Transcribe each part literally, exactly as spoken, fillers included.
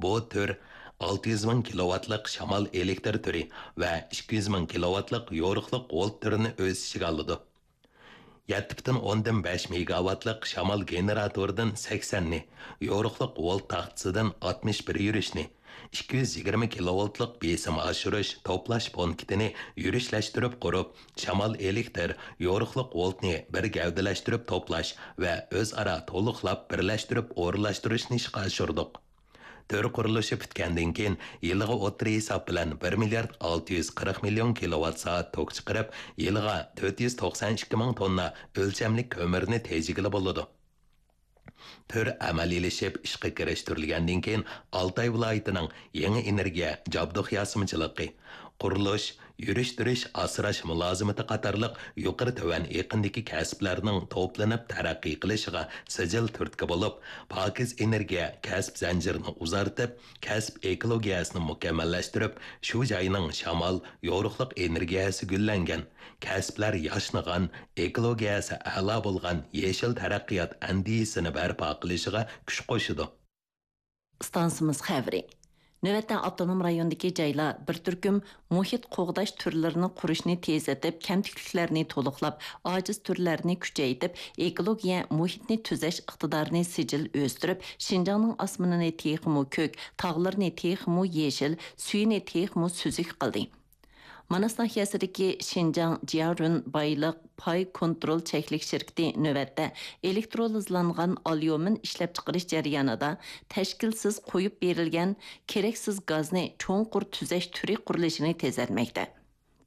بۇ تۈر ئالتە يۈز مىڭ كىلوۋاتلىق شامال ئېلېكتر تۈرى ۋە ئىككى يۈز مىڭ كىلوۋاتلىق يورۇقلۇق ۋولت تۈرىنى ئۆز ئىچىگە ئالىدۇ. يەتتە پۈتۈن ئوندىن بەش مېگاۋاتلىق شامال گېنېراتورىدىن سەكسەننى، يورۇقلۇق ۋولت تاختىسىدىن ئاتمىش بىر يۈرۈشنى، ئىككى يۈز يىگىرمە كىلوۋولتلۇق بېسىم ئاشۇرۇش توپلاش پونكىتىنى يۈرۈشلەشتۈرۈپ قۇرۇپ، شامال ئېلېكتر، يورۇقلۇق ۋولتنى بىر گەۋدىلەشتۈرۈپ توپلاش ۋە ئۆزئارا تولۇقلاپ بىرلەشتۈرۈپ ئورۇنلاشتۇرۇشنى ئىشقا ئاشۇردۇق. تۈر قۇرۇلۇشى پۈتكەندىن كېيىن، يىلىغا ئوتتۇرا ھېساب بىلەن بىر مىليارد ئالتە يۈز قىرىق مىليون كىلوۋات سائەت توك چىقىرىپ، يىلىغا تۆت يۈز توقسان ئىككى مىڭ توننا ئۆلچەملىك كۆمۈرنى تېجىگىلى بولىدۇ. تۈر ئەمەلىيلىشىپ ئىشقا كىرىشتۈرۈلگەندىن كېيىن، ئالتاي ۋىلايىتىنىڭ يېڭى ئېنېرگىيە، جابدۇق ياسىمىچىلىقى، قۇرۇلۇش، يۈرۈشتۈرۈش، ئاسراش مۇلازىمىتى قاتارلىق يۇقىرى تۆۋەن ئېقىندىكى كەسىپلەرنىڭ توپلىنىپ تەرەققىي قىلىشىغا سىجىل تۈرتكە بولۇپ، پاكىز ئېنېرگىيە كەسىپ زەنجىرىنى ئۇزارتىپ، كەسىپ ئېكولوگىيەسىنى مۇكەممەللەشتۈرۈپ، شۇ جاينىڭ شامال، يورۇقلۇق ئېنېرگىيەسى گۈللەنگەن، كەسىپلەر ياشنىغان، ئېكولوگىيەسى ئەلا بولغان يېشىل تەرەققىيات ئەندىزىسىنى بەرپا قىلىشىغا كۈچ قوشىدۇ. ئىستانسىمىز خەۋىرى. نۆۋەتتە ئاپتونوم رايوندىكى جايلار بىر تۈركۈم مۇھىت قوغداش تۈرلىرىنى قۇرۇشنى تېزلىتىپ، كەمتۈكلۈكلەرنى تولۇقلاپ، ئاجىز تۈرلەرنى كۈچەيتىپ، ئېكولوگىيە مۇھىتنى تۈزەش ئىقتىدارىنى سىجىل ئۆستۈرۈپ، شىنجاڭنىڭ ئاسمىنىنى تېخىمۇ كۆك، تاغلىرىنى تېخىمۇ يېشىل، سۈيىنى تېخىمۇ سۈزۈك قىلدى. ماناس ناھىيەسىدىكى شىنجاڭ جيارۈن بايلىق پاي كونترول چەكلىك شىركىتى نۆۋەتتە ئېلېكترولىزلانغان ئاليۇمىن ئىشلەپچىقىرىش جەريانىدا تەشكىلسىز قويۇپ بېرىلگەن كېرەكسىز گازنى چوڭقۇر تۈزەش تۈرى قۇرۇلۇشىنى تېزلەتمەكتە.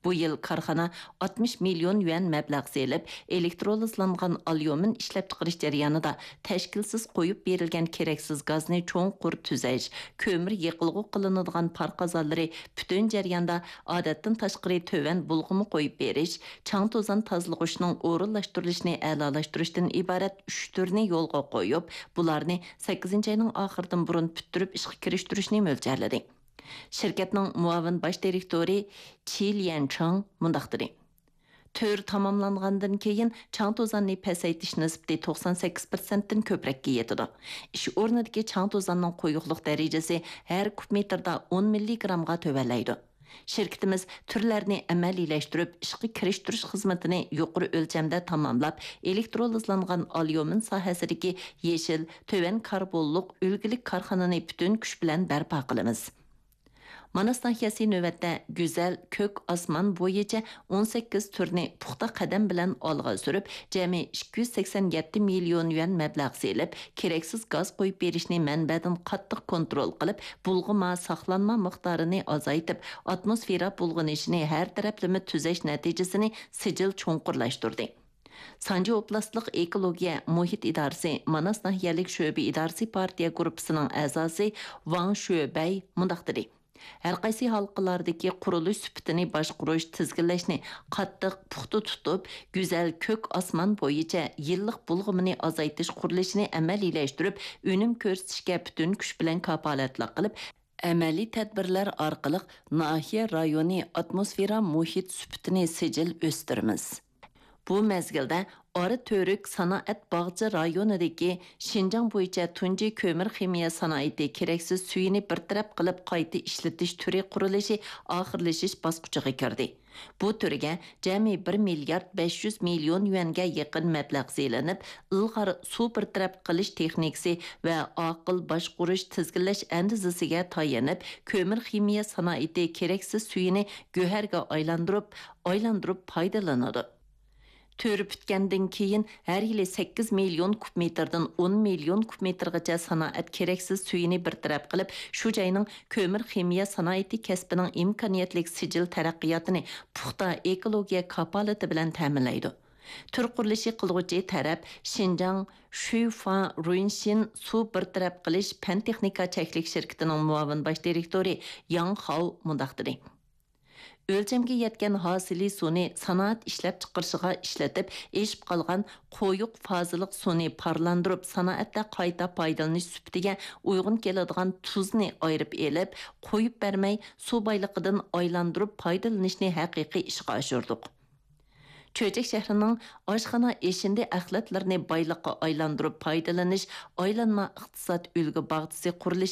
بۇ يىل كارخانا ئاتمىش مىليون يۈەن مەبلەغ سېلىپ، ئېلېكترولىزلانغان ئاليۇمىن ئىشلەپچىقىرىش جەريانىدا تەشكىلسىز قويۇپ بېرىلگەن كېرەكسىز گازنى چوڭقۇر تۈزەش، كۆمۈر يېقىلغۇ قىلىنىدىغان پار قازانلىرى پۈتۈن جەرياندا ئادەتتىن تاشقىرى تۆۋەن بۇلغىما قويۇپ بېرىش، چاڭ توزان تازىلىغۇچنىڭ ئورۇنلاشتۇرۇلۇشىنى ئەلالاشتۇرۇشتىن ئىبارەت ئۈچ تۈرنى يولغا قويۇپ، بۇلارنى سەككىزىنچى ئاينىڭ ئاخىرىدىن بۇرۇن پۈتتۈرۈپ ئىشقا كىرىشتۈرۈشنى مۆلچەرلىدى. شىركەتنىڭ مۇئاۋىن باش دىرېكتورى چى ليەنچىڭ مۇنداق دېدى: تۈر تاماملانغاندىن كېيىن، چاڭ توزاننى پەسەيتىش نىسبىتى توقسان سەككىز پىرسەنتتىن كۆپرەككە يېتىدۇ. ئىش ئورنىدىكى چاڭ توزاننىڭ قويۇقلۇق دەرىجىسى ھەر كۇب مېتىردا ئون مىللىگرامغا تۆۋەنلەيدۇ. شىركىتىمىز تۈرلەرنى ئەمەلىيلەشتۈرۈپ، ئىشقا كىرىشتۈرۈش خىزمىتىنى يۇقىرى ئۆلچەمدە تاماملاپ، ئېلېكترولىزلانغان ئاليۇمىن ساھەسىدىكى يېشىل، تۆۋەن كاربونلۇق، ئۈلگىلىك كارخانىنى پۈتۈن كۈچ بىلەن بەرپا قىلىمىز. ماناس ناھىيەسى نۆۋەتتە گۈزەل كۆك ئاسمان بويىچە ئون سەككىز تۈرنى پۇختا قەدەم بىلەن ئالغا سۈرۈپ، جەمئىي ئىككى يۈز سەكسەن يەتتە مىليون يۈەن مەبلەغ سېلىپ، كېرەكسىز گاز قويۇپ بېرىشنى مەنبەدىن قاتتىق كونترول قىلىپ، بۇلغىما، ساقلانما مىقدارىنى ئازايتىپ، ئاتموسفېرا بۇلغىنىشىنى ھەر تەرەپلىمە تۈزەش نەتىجىسىنى سىجىل چوڭقۇرلاشتۇردى. سانجى ئوبلاستلىق ئېكولوگىيە مۇھىت ئىدارىسى ماناس ناھىيەلىك شۆبە ئىدارىسى پارتىيە گۇرۇپپىسىنىڭ ئەزاسى ۋاڭ شۆبەي مۇنداق دېدى: ھەرقايسى ھالقىلارىدىكى قۇرۇلۇش سۈپىتىنى باشقۇرۇش، تىزگىنلەشنى قاتتىق، پۇختا تۇتۇپ، گۈزەل كۆك ئاسمان بويىچە يىللىق بۇلغىمىنى ئازايتىش قۇرۇلۇشىنى ئەمەلىيلەشتۈرۈپ، ئۈنۈم كۆرسىتىشكە پۈتۈن كۈچ بىلەن كاپالەتلىك قىلىپ، ئەمەلىي تەدبىرلەر ئارقىلىق ناھىيە رايونى ئاتموسفېرا مۇھىت سۈپىتىنى سىجىل ئۆستۈرىمىز. بۇ مەزگىلدە ئارا تۈرك سانائەت باغچە رايونىدىكى شىنجاڭ بويىچە تۇنجى كۆمۈر خىمىيە سانائىتى كېرەكسىز سۈيىنى بىر تەرەپ قىلىپ قايتا ئىشلىتىش تۈرى قۇرۇلۇشى ئاخىرلىشىش باسقۇچىغا كىردى. بۇ تۈرگە جەمئىي بىر مىليارد بەش يۈز مىليون يۈەنگە يېقىن مەبلەغ سېلىنىپ، ئىلغار سۇ بىر تەرەپ قىلىش تېخنىكىسى ۋە ئاقىل باشقۇرۇش تىزگىنلەش ئەندىزىسىگە تايىنىپ، كۆمۈر خىمىيە سانائىتى كېرەكسىز سۈيىنى گۆھەرگە ئايلاندۇرۇپ، ئايلاندۇرۇپ پايدىلىنىدۇ. تۈر پۈتكەندىن كېيىن، ھەر يىلى سەككىز مىليون كۇب مېتىردىن ئون مىليون كۇب مېتىرغىچە سانائەت كېرەكسىز سۈيىنى بىر تەرەپ قىلىپ، شۇ جاينىڭ كۆمۈر خىمىيە سانائىتى كەسپىنىڭ ئىمكانىيەتلىك سىجىل تەرەققىياتىنى پۇختا ئېكولوگىيە كاپالىتى بىلەن تەمىنلەيدۇ. تۈر قۇرۇلۇشى قىلغۇچى تەرەپ شىنجاڭ شۈيفا رۇينشىن سۇ بىر تەرەپ قىلىش پەن تېخنىكا چەكلىك شىركىتىنىڭ مۇئاۋىن باش دىرېكتورى ياڭ خاۋ مۇنداق دېدى: ئۆلچەمگە يەتكەن ھاسىلى سۇنى سانائەت ئىشلەپچىقىرىشىغا ئىشلىتىپ، ئېشىپ قالغان قويۇق فازىلىق سۇنى پارلاندۇرۇپ، سانائەتتە قايتا پايدىلىنىش سۈپىتىگە ئۇيغۇن كېلىدىغان تۇزنى ئايرىپ ئېلىپ، قويۇپ بەرمەي، سۇ بايلىقىدىن ئايلاندۇرۇپ پايدىلىنىشنى ھەقىقىي ئىشقا ئاشۇردۇق. چۆچەك شەھىرىنىڭ ئاشخانا ئېشىندى ئەخلەتلىرىنى بايلىققا ئايلاندۇرۇپ پايدىلىنىش ئايلانما ئىقتىساد ئۈلگە باغچىسى قۇرۇلۇشى